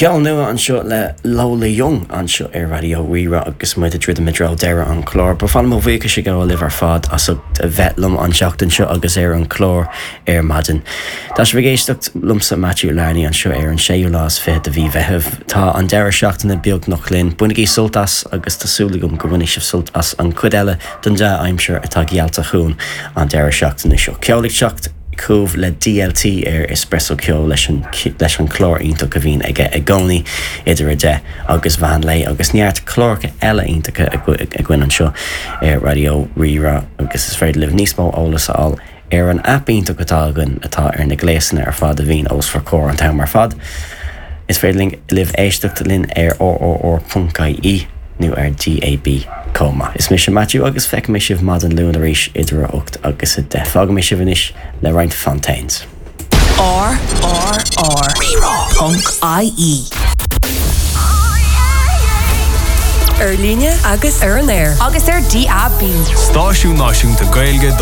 Ceol nua anseo le Lola Young anseo ar Raidió Rí-Rá agus muid ag druidim i dtreo deireadh an chláir. Ba mhaith liom mo bhuíochas a ghabháil libh ar fad as ucht a bheith liom an tseachtain seo agus ar an chlár ar maidin. Tá sibh ag éisteacht liomsa Matthew Larney anseo ar an séú lá is 20 de mhí Mheithimh. Tá an deireadh seachtaine beagnach linn. Bainigí sult as agus tá súil agam go mbainfidh sibh sult as an chuid eile den dea-aimsir atá geallta chugainn an deireadh seachtaine seo. Ceol ag teacht chugaibh le DLT ar Espresso Ceol leis an leis an chlár iontach a bhíonn aige i gcónaí idir 10 agus mheán lae agus neart cláracha eile iontacha againn anseo ar Raidió Rí-Rá agus is féidir libh níos mó eolas a fháil ar an aip iontach atá againn atá ar na gléasanna ar fad a bhíonn os bhur gcomhair an t-am ar fad. Is féidir libh éisteacht linn ar rrr.ie nó ar DAB chomh maith. Is mise Matthew agus feicfidh mé sibh maidin Luain arís idir 8 agus 10. Fágfaidh mé sibh anois le roinnt Fontaines. RRR. Rírá.ie. Ar líne agus ar an aer. Agus ar DAB. Stáisiún náisiúnta Gaeilge do.